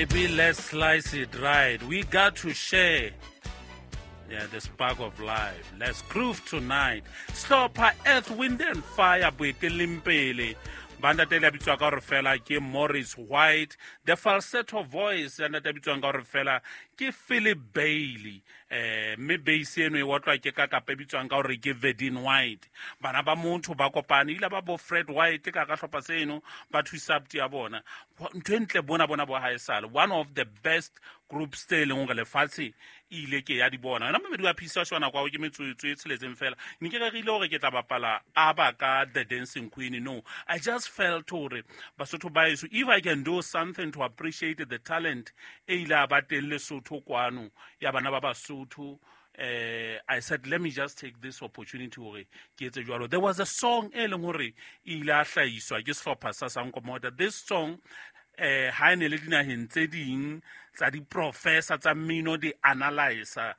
Baby, let's slice it right. We got to share. Yeah, the spark of life. Let's groove tonight. Sehlopha Earth, Wind and Fire boeteleng pele. Ba ntate le bitswa ka hore fela ke Maurice White, the falsetto voice ya ntate bitswang ka hore fela ke Philip Bailey. Mme bass eno e otlwa ke ka kapa e bitswang ka hore ke Verdine White. Bana ba motho ba kopane ile ba bo Fred White ka ka hlopha seno ba thusa abuti ya bona. Ntho e ntle bona bona bo haesale one of the best groups tse e leng gore lefatshe e ile ke ya di bona. Yona momedi wa phisa shona kwa ke metsotso e tsheletseng fela. Ne ke rerile hore ke tla bapala aba ka The Dancing Queen. No, I just felt hore Basotho ba heso, if I can do something to appreciate the talent e ile a ba teng Lesotho kwano ya bana ba Basotho, I said let me just take this opportunity hore ke etse jwalo. There was a song e leng hore e ile a hlahiswa ke sehlopha sa Sankomota. This song ha e ne le dinaheng tse ding tsa di-professor tsa mmino di analyzer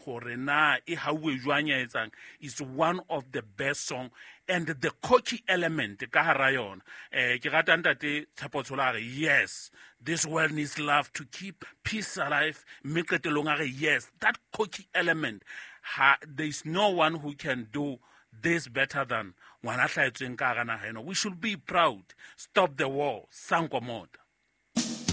hore na e hauwe jwang ya etsang, is one of the best song and the cocky element ka hara yona. Ke rata ntate Tshepo Tshola a re yes, this world needs love to keep peace alive, mme qetellong a re yes, that cocky element, ha, there is no one who can do this better than ngwana hlahetsweng ka hara naha eno. We should be proud. Stop the war. Sankomota.